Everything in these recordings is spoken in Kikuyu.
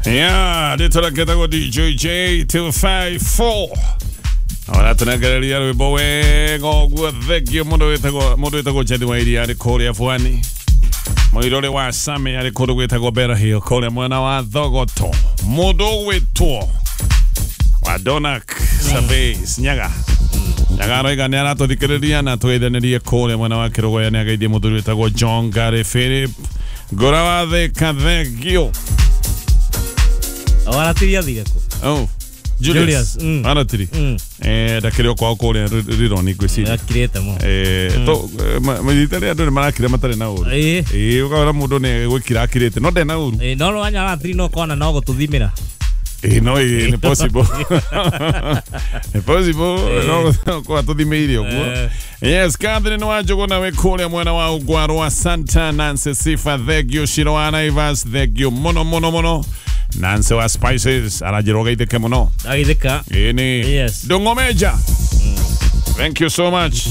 Yeah, rĩtwa DJ J254. Aratũnengereria rwĩmbo wega ũguo. Thengio mũndũ wĩtagwo Jethi wa Iria arĩ kũrĩa Bwani. Mũirũrĩ wa Sami arĩ kũndũ gwĩtagwo Bera Hill kũrĩa mwena wa Thogoto. Mũndũ ũgwĩtwo wa Donak Surveys Nyaga. Nyaga aroiga nĩ aratũthikĩrĩria na tũgeithanĩrie kũrĩa mwena wa Kĩrũgũya. Nĩ ageithie mũthuri wĩtagwo John Gary Philip. Ngũra wa Thĩka, thengio. Waratiri athire kũ? Oh, Julius. Julius. Aratiri. Ndakĩrĩ o kwao kũrĩa Rironi ngwĩciria. Akirĩte mũno. To mahinda rĩrĩa andũ nĩ marakira matarĩ na ũru. Ĩĩ. Ĩĩ, ũkona mũndũ nĩ gwĩkira akirĩte no ndarĩ na ũru. Ĩĩ, no wanya aratiri no kona no gũtũthimĩra. Ĩĩ, no ĩĩ, nĩ possible. Nĩ possible no kwa tũthimĩire ũguo. Yes, Catherine Wanjũgũ nawe kũrĩa mwena wa Ugwaro wa Santa Nancy Sifa, thengio. Shiro wa Naivas, thengio mũno mũno mũno. Nancy wa Spices aranjĩra ũgeithĩke mũno. Ndagithĩka. Ĩni. Yes. Ndũng'omeja. Thank you so much.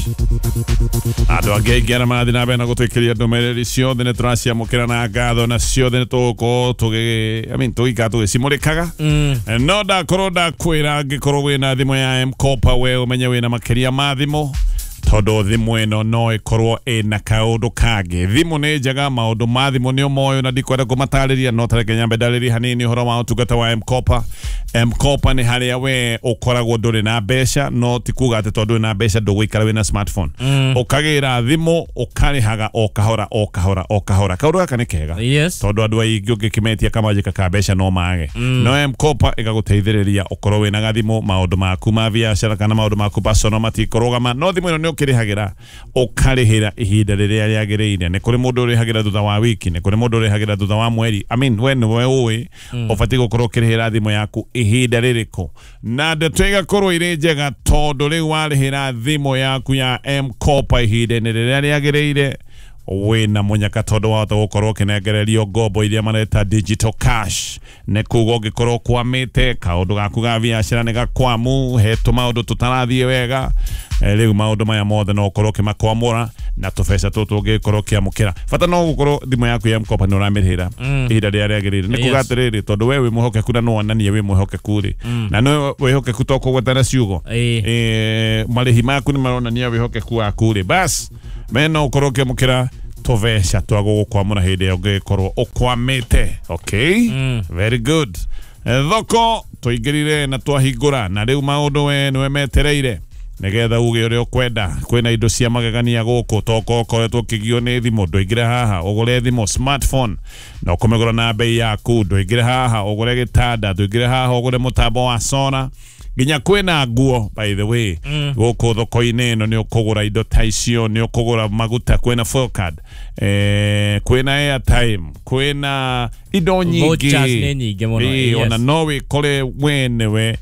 Andũ angĩ aingĩ arĩa marathiĩ na mbere na gũtwĩkĩria ndũmĩrĩri ciothe nĩ tũraciamũkĩra na ngatho, na ciothe nĩ tũgũkorwo tũgĩ I mean, tũgĩikara tũgĩcimũrĩkaga. No ndakorwo ndakwĩra, angĩkorwo wĩna thimũ ya M-Kopa, we ũmenye wĩna makĩria ma thimũ, tondũ thimũ ĩno no ĩkorwo ĩna kaũndũ kangĩ. Thimũ nĩ njega, maũndũ ma thimũ nĩ ũmoyo na ndikwenda kũmatarĩria, no tareke nyambe ndarĩrie hanini ũhoro wa ũtungata wa M-Kopa. M-Kopa nĩ harĩa we ũkoragwo ndũrĩ na mbeca, no ti kuga atĩ tondũ ndũrĩ na mbeca ndũgũikara wĩna smartphone. Ũkagĩra thimũ ũkarĩhaga o kahora o kahora o kahora. Kaũndũ gaka nĩ kega tondũ andũ aingĩ ũngĩkĩmetia kamanjĩka ka mbeca no mage. No M-Kopa ĩgagũteithĩrĩria ũkorwo wĩna gathimũ, maũndũ maku ma biacara kana maũndũ maku personal matikũrũgama, no thimũ ĩno nĩ ũkĩrĩhagĩra, ũkarĩhĩra ihinda rĩrĩa rĩagĩrĩire. Nĩ kũrĩ mũndũ ũrĩhagĩra thutha wa wiki, nĩ kũrĩ mũndũ ũrĩhagĩra thutha wa mweri. I mean, we nĩwe ũĩ ũbatiĩ gũkorwo ũkĩrĩhĩra thimũ yaku ihinda rĩrĩkũ, na ndeto igakorwo irĩ njega tondũ rĩu warĩhĩra thimũ yaku ya M-Kopa ihinda-inĩ rĩrĩa rĩagĩrĩire, wĩna mũnyaka tondũ wahota gũkorwo ũkĩnengererio ngombo iria mareta digital cash. Nĩ kuga ũngĩkorwo ũkwamĩte kaũndũ gaku ga biacara nĩ gakwamu, hetũ maũndũ tũtarathiĩ wega, rĩu maũndũ maya mothe no ũkorwo ũkĩmakwamũra na tũbeca tũtũ ũngĩkorwo ũkĩamũkĩra. Bata no gũkorwo thimũ yaku ya M-Kopa nĩ ũramĩrĩhĩra ihinda rĩrĩa rĩagĩrĩire. Nĩ kuga atĩrĩrĩ, tondũ we wĩ mwĩhokeku na no wonanie wĩ mwĩhokeku rĩ, na no wĩhokeku to kũgweta na ciugo, marĩhi maku nĩ maronania wĩhokeku waku rĩ, bas me no ũkorwo ũkĩamũkĩra tũbeca twa gũgũkwamũra hĩndĩ ĩrĩa ũngĩkorwo ũkwamĩte. Okay, very good. Thoko tũingĩrire na twahingũra, na rĩu maũndũ we nĩwe metereire nĩgetha uge ũrĩa ũkwenda. Kwĩna indo cia magegania gũkũ, toko ũkoretwo ũkĩgio nĩ thimũ, ndũingĩre haha ũgũre thimũ smartphone na ũkũmĩgũra na bei yaku. Ndũingĩre haha ũgũre gĩtanda, ndũingĩre haha ũgũre mũtambo wa sora, nginya kwĩna nguo by the way. Gũkũ thoko-inĩ ĩno nĩ ũkũgũra indo ta icio, nĩ ũkũgũra maguta, kwĩna fuel card, kwĩna airtime, kwĩna indo nyingĩ. Vouchers nĩ nyingĩ mũno. Ona no wĩkore we nĩwe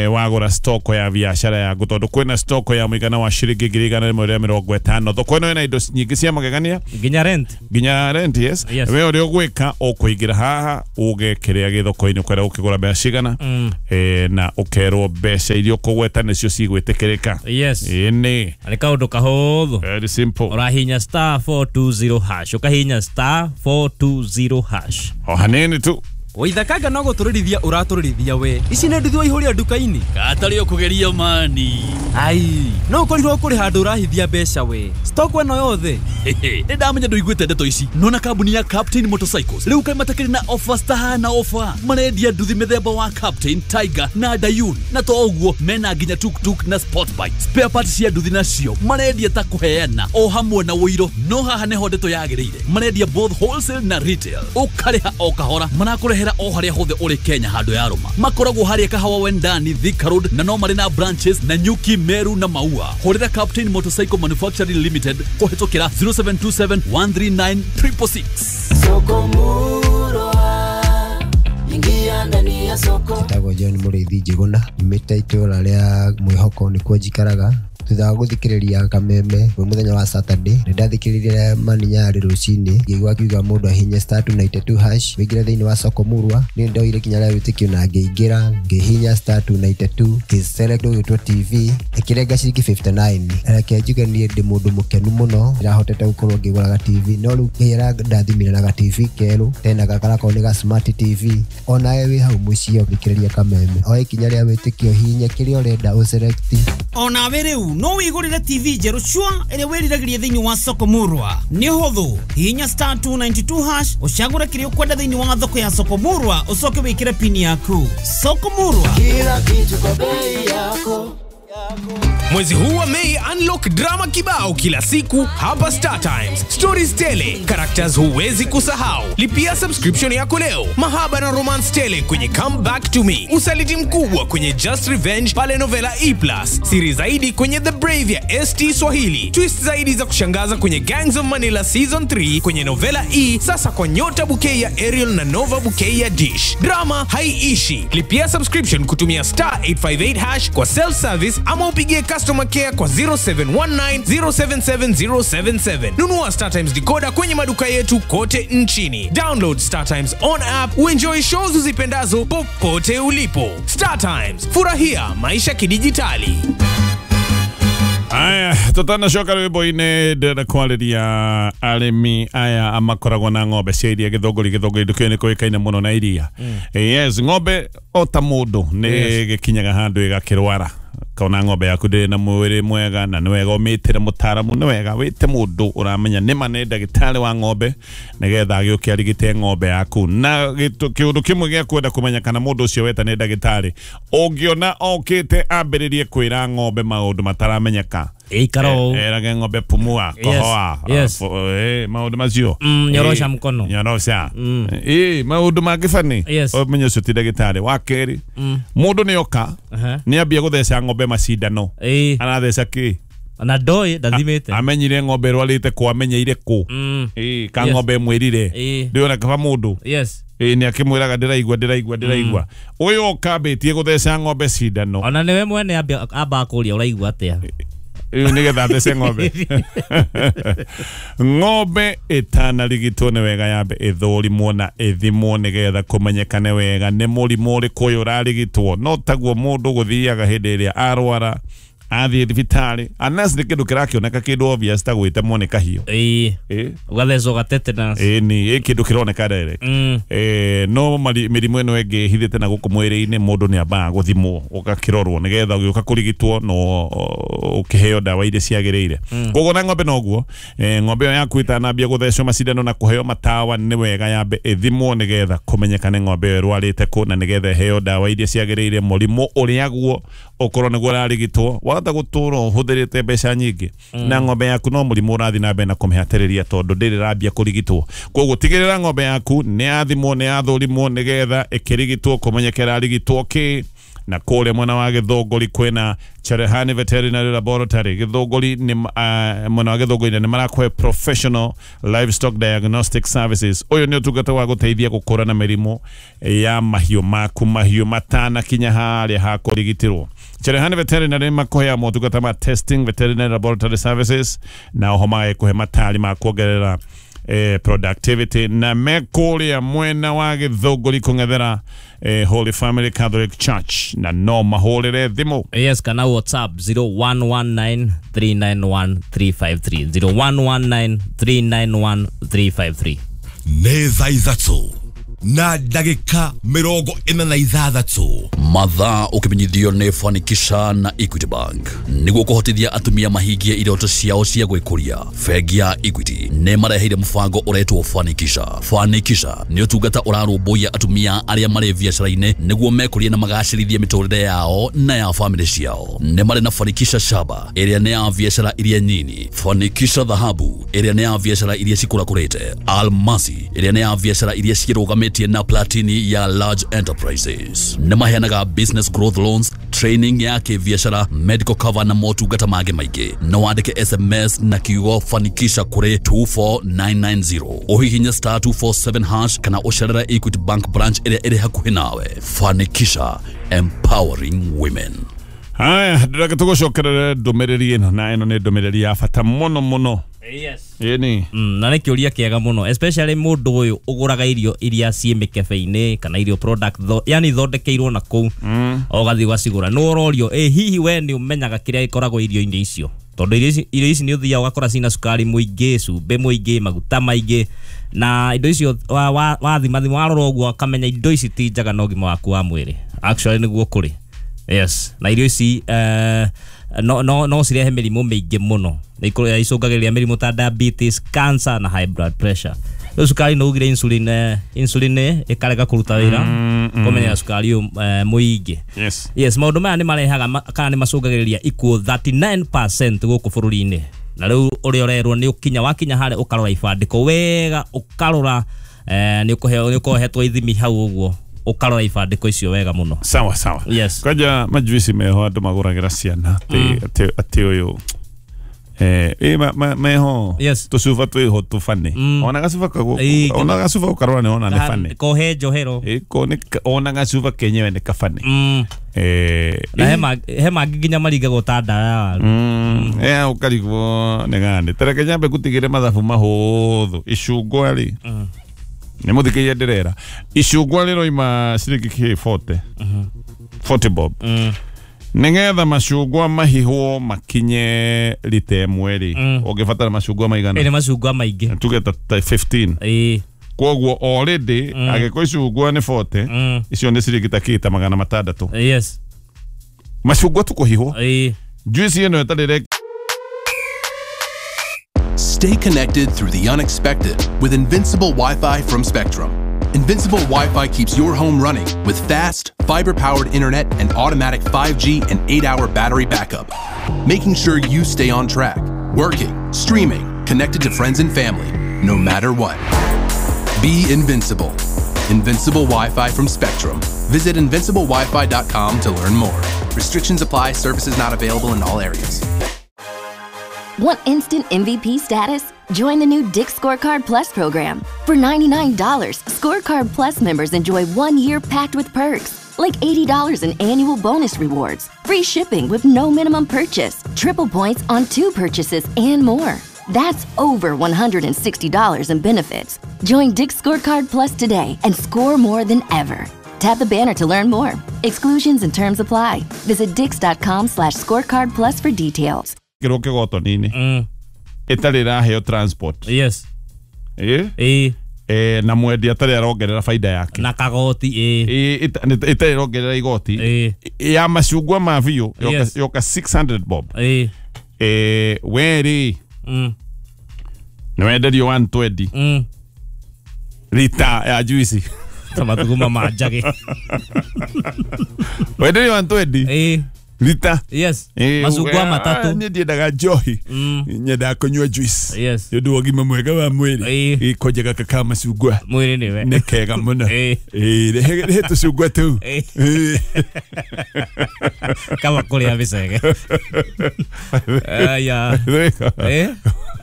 wagũra stoko ya biacara yaku, tondũ kwĩna stoko ya mũigana wa ciringi 150,000. Thoko ĩno ĩna indo nyingĩ cia magegania. Nginya rent. Nginya rent, yes. Yes. We ũrĩa ũgwĩka, ũkũingĩra haha uge kĩrĩa gĩ thoko-inĩ ũkwenda gũkĩgũra mbeca cigana, na ũkerwo mbeca iria ũkũgweta nĩcio cigwĩtĩkĩrĩka. Ĩĩ nĩ. Nĩ kaũndũ kahũthũ. Very simple. Ũrahinya *420#, ũkahinya *420#. O hanini tu. Waithakanga no gũtũrĩrithia ũratũrĩrithia we. Ici nĩ nduthi waihũria nduka-inĩ. Gatarĩ ũkũgeria mani. Ai, no ũkorirwo kũrĩ handũ ũrahithia mbeca we. Stock ĩno yothe. Nĩ ndamenya ndũiguĩte ndeto ici. Nona kambuni ya Captain Motorcycles rĩu kaĩ matakĩrĩ na offers tahana offer. Marendia nduthi mĩthemba wa Captain, Tiger na Dayun, na to ũguo mena nginya tuktuk na sport bike. Spare parts cia nduthi nacio marendia ta kũheana o hamwe na ũiro. No haha nĩho ndeto yagĩrĩire, marendia both wholesale na retail, ũkarĩha o kahora, marakũrehera o harĩa hothe ũrĩ Kenya handũ ya rũma. Makoragwo harĩa Kahawa Wendani, Thika Road, na no marĩ na branches na Nyuki, Meru na Maua. Hũrĩra Captain Motorcycle Manufacturing Limited kũhĩtũkĩra 0727 139 666. Soko Murwa, ingia ndani ya soko. Njĩtagwo John Mũrĩithi Njĩgũna, nyumĩte itũra rĩa Mwĩhoko, nĩkuo njikaraga. Thutha wa gũthikĩrĩria Kameme mwĩ mũthenya wa Saturday, nĩ ndathikĩrĩirie Maninyarĩ rũcinĩ, ngĩigua akiuga mũndũ ahihinye star 292 hash wĩingĩre thĩinĩ wa soko murwa. Niĩ ndoire ikinya rĩa wĩtĩkio na ngĩingĩra, ngĩhihinya star 292, ngĩselect ũgĩtwo TV, ĩkĩrenga ciringi 59. Reke njuge niĩ ndĩ mũndũ mũkenu mũno, ndĩrahotete gũkorwo ngĩgũraga TV, no rĩu Ngai arandathimire na ga TV kerũ, tena gakarakorwo nĩ ga smart TV. Onawe wĩ hau mũciĩ ũthikĩrĩria Kameme, oe ikinya rĩa wĩtĩkio, hihinya kĩrĩa ũrenda ũselect. Onawe rĩu no wĩgũrĩre TV njerũ cua ĩrĩa wĩriragĩria thĩinĩ wa soko murwa. Nĩ ũhũthũ, hihinya star 292 hash ũcagũre kĩrĩa ũkwenda thĩinĩ wa thoko ya soko murwa, ũcoke wĩkĩre pini yaku. Soko murwa, kila kitu kwa bei yako. Mwezi huu wa Mei, unlock drama kibao kila siku hapa Star Times. Stories tele, characters huwezi kusahau. Lipia subscription yako leo. Mahaba na romance tele kwenye Come Back to Me. Usaliti mkubwa kwenye Just Revenge pale Novela E+. Siri zaidi kwenye The Brave ya ST Swahili. Twist zaidi za kushangaza kwenye Gangs of Manila Season 3 kwenye Novela E, sasa kwa Nyota Bouquet ya Ariel na Nova Bouquet ya Dish. Drama haiishi. Lipia subscription kutumia star 858 hash kwa self-service ama upigie customer care kwa 0719 077 077. Nunua Star Times decoder kwenye maduka yetu kote nchini. Download Star Times on app uenjoy shows uzipendazo popote ulipo. Star Times, furahia maisha kidijitali. Aya, tutanacoka rwimbo-inĩ ndĩrenda kwarĩria arĩmi aya makoragwo na ng'ombe cia iria Gĩthũngũri. Gĩthũngũri ndũkĩũĩ nĩ kũĩkaine mũno na iria. Yes, ng'ombe o ta mũndũ nĩ gĩkinyaga handũ ĩgakĩrwara. Kaona ng'ombe yaku ndĩrĩ na mwĩrĩ mwega, na nĩ wega ũmĩtĩre mũtaaramu, nĩ wega wĩte mũndũ ũramenya nĩma nĩ ndagĩtarĩ wa ng'ombe, nĩgetha agĩũke arigite ng'ombe yaku. Na kĩũndũ kĩmwe gĩa kwenda kũmenya kana mũndũ ũcio weta nĩ ndagĩtarĩ, ũngĩona okĩte ambĩrĩrie kwĩra ng'ombe maũndũ mataramenyeka, erage ng'ombe pumua, kohoa, maũndũ macio, nyorosha mkono, nyorosha, maũndũ mangĩ bani, ũmenye ũcio ti ndagĩtarĩ. Wa kerĩ, mũndũ nĩ oka nĩ ambia gũtheca ng'ombe macindano, aratheca kĩ na ndoi ndathimĩte, amenyire ng'ombe ĩrwarĩte kũ, amenyeire kũ, ka ng'ombe ĩmwĩrire, ndĩona kaba mũndũ nĩ akĩmwĩraga ndĩraigua ndĩraigua ndĩraigua. Ũyũ okambĩtie gũtheca ng'ombe cindano, ona nĩwe mwene amba kũria ũraigua atĩa, nĩgetha athece ng'ombe. Ng'ombe ĩtanarigitwo nĩ wega yambe ĩthũrimwo na ĩthimwo nĩgetha kũmenyekane wega nĩ mũrimũ ũrĩkũ ũyũ ũrarigitwo. No taguo mũndũ gũthiaga hĩndĩ ĩrĩa arwara athiĩ thibitarĩ, unless nĩ kĩndũ kĩrakĩoneka kĩndũ obvious ta gwĩtemwo nĩ kahiũ, ũgathecwo ga tetanus, nĩ kĩndũ kĩroneka direct. No mĩrimũ ĩno ĩngĩ ĩhithĩte na gũkũ mwĩrĩ-inĩ, mũndũ nĩ ambaga gũthimwo ũgakĩrorwo nĩgetha ũgĩũka kũrigitwo no ũkĩheo ndawa iria ciagĩrĩire. Koguo na ng'ombe noguo, ng'ombe ĩyo yaku ĩtanambia gũthecwo macindano na kũheo matawa, nĩ wega yambe ĩthimwo nĩgetha kũmenyekane ng'ombe ĩyo ĩrwarĩte kũ, na nĩgetha ĩheo ndawa iria ciagĩrĩire mũrimũ ũrĩa guo ũkorwo nĩguo ũrarigitwo. Wahota gũtũra ũhũthĩrĩte mbeca nyingĩ na ng'ombe yaku no mũrimũ ũrathiĩ na mbere na kũmĩhatĩrĩria tondũ ndĩrĩ ĩrambia kũrigitwo. Koguo tigĩrĩra ng'ombe yaku nĩ yathimwo, nĩ yathũrimwo nĩgetha ĩkĩrigitwo kũmenyeke ĩrarigitwo kĩ. Na kũrĩa mwena wa Gĩthũngũri kwĩna Cherehani Veterinary Laboratory. Gĩthũngũri nĩ mwena wa Gĩthũngũri nĩ marakũhe professional livestock diagnostic services. Ũyũ nĩ ũtungata wa gũteithia gũkũrana mĩrimũ ya mahiũ maku, mahiũ matanakinya harĩa ha kũrigitĩrwo. Cherehani Veterinary makũheaga motungata ma testing, veterinary laboratory services, na oho magakũhe matari ma kuongerera productivity. Na mekũrĩa mwena wa Gĩthũngũri kũng'ethera Holy Family Catholic Church, na no mahũrĩre thimũ. Yes, kana WhatsApp 0119 391 353, 0119 391 353. Nĩ thaa 3 na ndagĩka 46. Mathaa ũkĩmenyithio nĩ Fanikisha na Equity Bank nĩguo kũhotithia atumia mahingie iroto ciao cia gwĩkũria. Bengi ya Equity nĩ mareheire mũbango ũretwo Fanikisha. Fanikisha nĩ ũtungata ũrarũmbũiya atumia arĩa marĩ biacara-inĩ nĩguo mekũrie na magacĩrithie mĩtũrĩre yao na ya famĩlĩ ciao. Nĩ marĩ na Fanikisha Shaba ĩrĩa nĩ ya biacara iria nyini, Fanikisha Dhahabu ĩrĩa nĩ ya biacara iria cikũrakũrĩte, Almasi ĩrĩa nĩ ya biacara iria cirũgamĩtie na Platini ya large enterprises. Nĩ maheanaga business growth loans, training ya kĩbiacara, medical cover na motungata mangĩ maingĩ. No wandĩke SMS na kiugo Fanikisha kũrĩ 24990, ũhihinye star 247 hash kana ũcerere Equity Bank branch ĩrĩa ĩrĩ hakuhĩ nawe. Fanikisha, empowering women. Haya, ndĩreke tũgũcokerere ndũmĩrĩri ĩno, na ĩno nĩ ndũmĩrĩri ya bata mũno mũno. Yes. Ĩni. Na nĩ kĩũria kĩega mũno, especially mũndũ ũyũ ũgũraga irio iria ciĩ mĩkebe-inĩ kana irio product yani ithondekeirwo na kũu, ũgathiĩ ũgacigũra, nĩ ũrorio hihi we nĩ ũmenyaga kĩrĩa gĩkoragwo irio-inĩ icio, tondũ irio ici nĩ ũthiaga ũgakora cina cukari mũingĩ, cumbĩ mũingĩ, maguta maingĩ, na indo icio wathima thima warora ũguo ũkamenya indo ici ti njega na ũgima waku wa mwĩrĩ. Actually nĩguo kũrĩ. Yes, na irio ici no cirehe mĩrimũ mĩingĩ mũno, icũngagĩrĩria mĩrimũ ta diabetes, cancer na high blood pressure. Rĩu cukari nĩ ugire insulin, insulin ĩkarega kũruta wĩra, kũmenyera cukari ũyũ mũingĩ. Yes. Yes, maũndũ maya nĩ marehaga kana nĩ macũngagĩrĩria ikuũ 39% gũkũ bũrũri-inĩ. Na rĩu ũrĩa ũrerwo nĩ ũkinya wakinya harĩa ũkarora ibandĩko wega, ũkarora nĩ ũkohetwo ithimi hau ũguo, ũkarora ibandĩko icio wega mũno. Sawa sawa. Yes. Kwanja majuici meho andũ magũragĩra ciana atĩ ũyũ meho. Yes. Tũcuba twĩho tũbane. Ona gacuba kago, ona gacuba ũkarora nĩ ona nĩ bane. Kohe njohero. Ko nĩ ona gacuba kenyewe nĩ kabane. Na he mangĩ nginya maringagwo ta ndawa ya waru. Ũkarigwo nĩ gani. Tareke nyambe ngũtigĩre mathabu mahũthũ. Icungwa rĩ, nĩ mũthikĩria ndĩrera, icungwa rĩroima ciringi kĩ 40. 40 bob. Nĩgetha macungwa mahihwo makinye rita ĩmwe rĩ, ũngĩbatara macungwa maigana? Nĩ macungwa maingĩ. Tuge ta 15. Koguo already angĩkorwo icungwa nĩ 40, icio nĩ ciringi ta kĩ ta 600. Yes. Macungwa tu kũhihwo. Juice ĩno ĩtarĩ. Stay connected through the unexpected with Invincible Wi-Fi from Spectrum. Invincible Wi-Fi keeps your home running with fast, fiber-powered internet and automatic 5G and 8-hour battery backup, making sure you stay on track, working, streaming, connected to friends and family, no matter what. Be invincible. Invincible Wi-Fi from Spectrum. Visit invinciblewifi.com to learn more. Restrictions apply. Services not available in all areas. Want instant MVP status? Join the new Dick's Scorecard Plus program. For $99, Scorecard Plus members enjoy 1 year packed with perks, like $80 in annual bonus rewards, free shipping with no minimum purchase, triple points on 2 purchases, and more. That's over $160 in benefits. Join Dick's Scorecard Plus today and score more than ever. Tap the banner to learn more. Exclusions and terms apply. Visit dicks.com/scorecard plus for details. Kĩrũke gotoni-inĩ ĩtarĩ ĩraheo transport. Yes. Na mwendia atarĩ arongerera baida yake na kagoti. Ĩtarĩ ĩrongerera igoti ya macungwa ma biũ yoka 600 bob. We rĩ nĩ wenderio 120 rita ya juici ta mathuguma ma njagĩ. Wenderio 120 Lita. Yes. Macungwa matatũ. Niĩ ndiendaga njohi. Nyendaga kũnyua juice. Yes. Nĩ ũndũ wa ũgima mwega wa mwĩrĩ. Gĩkonje gaka ka macungwa. Mwĩrĩ nĩwe. Nĩ kega mũno. Rehe tũcungwa tũu. Kaba kũrĩa mĩcege. Aya.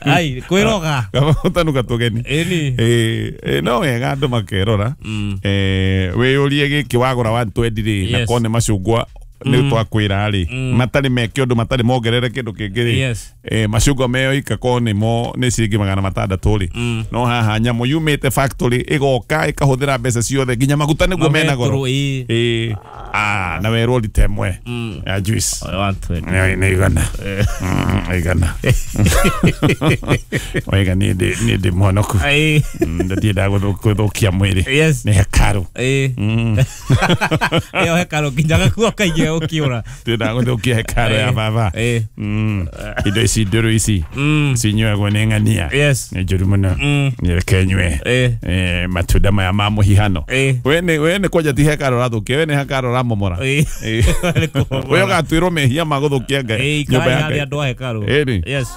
Ai, kwĩroga. Kaba gũtanuka tũgeni. No wega andũ makerora. Wĩyũrie gĩkĩ wagũra 120 rĩ, na korwo nĩ macungwa nĩ twakwĩra rĩ, matarĩ meke ũndũ, matarĩ mongerere kĩndũ kĩngĩ rĩ, macungwa meyoika korwo nĩmo nĩ ciringi 600 rĩ, no haha nyamũ yumĩte factory ĩgoka ĩkahũthĩra mbeca ciothe nginya maguta nĩguo mena goro. Na werwo rita ĩmwe ya juice nĩ igana. Igana. Wega niĩ ndĩ mwonoku. Ndiendaga gũthũkia mwĩrĩ. Nĩ hekarũ. Ĩyo hekarũ nginya gakuo kaingĩ ũkĩũra. Ndiendaga gũthũkia hekarũ ya baba. Indo ici ndũrũ ici cinyuagwo nĩ ng'ania. Nĩ njũru mũno. Reke nyue matunda maya ma mũhihano. We nĩ kwanja ti hekarũ ũrathũkia, we nĩ hekarũ ũramomora. We ũgatuĩrwo mehia ma gũthũkia Ngai nyũmba ya Ngai. Andũ a hekarũ. Yes.